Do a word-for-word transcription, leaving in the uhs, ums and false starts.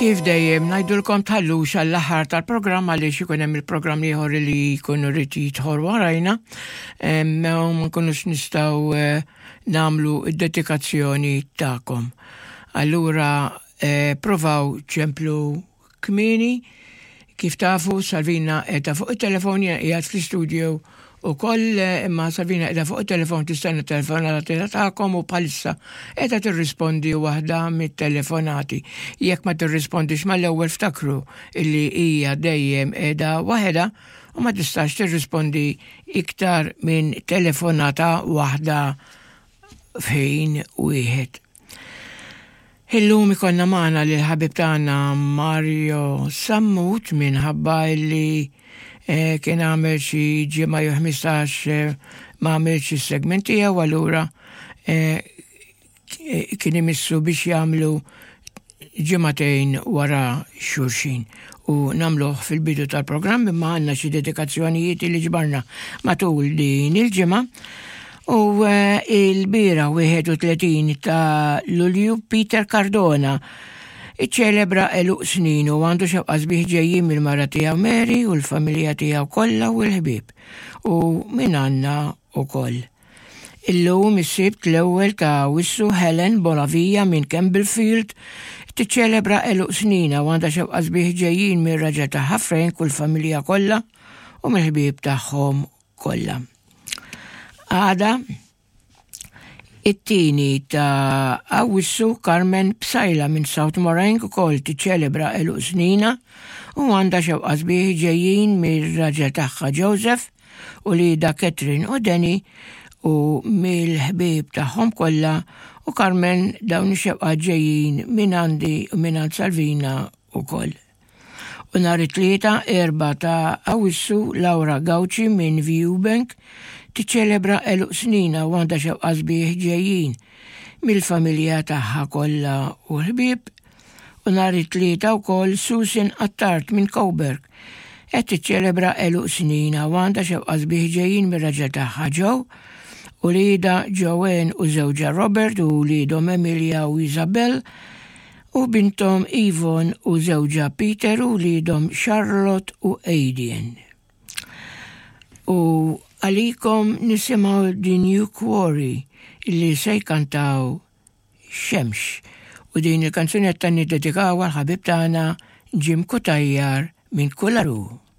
Kif dejjem ngħidulkom, tħallux għall-aħħar tal-programm għaliex ikun hemm il-programm ieħor li jkunu rrid jidħol warajna, em, u ma nkunux nistgħu eh, nagħmlu id-dedikazzjoni tagħkom. Allura eh, provaw ċemplu kmieni. Kif tafu, Salvina qiegħda fuq il-telefon, qiegħed fl-istudio u koll, imma Salvina qiegħda fuq il-telefon tistenna telefonata tagħkom u bħalissa qiegħda tirrispondi waħda mit-telefonati. Jekk ma tirrispondix mal-ewwel, ftakru illi hija dejjem qiegħda waħedha u ma tistax tirrispondi iktar minn telefonata waħda f'ħin wieħed. Illum ikollna magħna lil ħabib tagħna Mario Sammut minħabba illi eh, kien għamel xi ġimgħa jew ħmistax eh, ma għamilx is-segment tiegħu, allura eh, kien imissu biex jagħmlu ġimagħtejn wara xulxin u nagħmluh fil-bidu tal-programm, imma għandna xi dedikazzjonijiet li ġbarna matul din il-ġimgħa. U eh, il-bieraħ wieħed u tletin ta' Lulju Peter Cardona iċċelebra għeluq snin u għandu xewqa sbieħ ġejjin mill-mara tiegħu Mary u l-familja tiegħu kollha u l-ħbieb u minn għandna ukoll. Illum is-Sibt l-ewwel ta' Awwissu Helen Bonavia minn Campbellfield tiċċelebra għeluq snina u għandha xewqa sbieħ ġejjin mir-raġel tagħha Frank u l-familja kollha u mill-ħbieb tagħhom kollha. Għada it-tieni ta' Awwissu Carmen Psajla minn South Morang ukoll tiċċelebra għeluq snina u għandha xewqa sbieħ ġejjin mir-raġel tagħha Joseph u uliedha Catherine u Danny u mill-ħbieb tagħhom kollha, u Carmen, dawn ix-xewqa ġejjin minn għandi u minn għand Salvina ukoll. U nhar it-Tlieta erba' ta' Awwissu Laura Gauci minn Viewbank tiċċelebra għeluq snina u għandha xewqa sbieħ ġejjin mill-familja tagħha kollha u l-ħbieb. U nhar it-Tlieta wkoll Susan Attard minn Coburg qed tiċċelebra għeluq snina u għandha xewqa sbieħ ġejjin mir-raġel tagħha Joe u uliedha Joanne u żewġha Robert u uliedhom Emilia u Isabel u bintom Yvonne u żewġha Peter u uliedhom Charlotte u Aidien. U għalikom nisimgħu The New Quarry illi se jkantaw "Xemx". U din il-kanzunetta niddedikaw għal ħabib tagħna Jim Cutajar minn Kularu.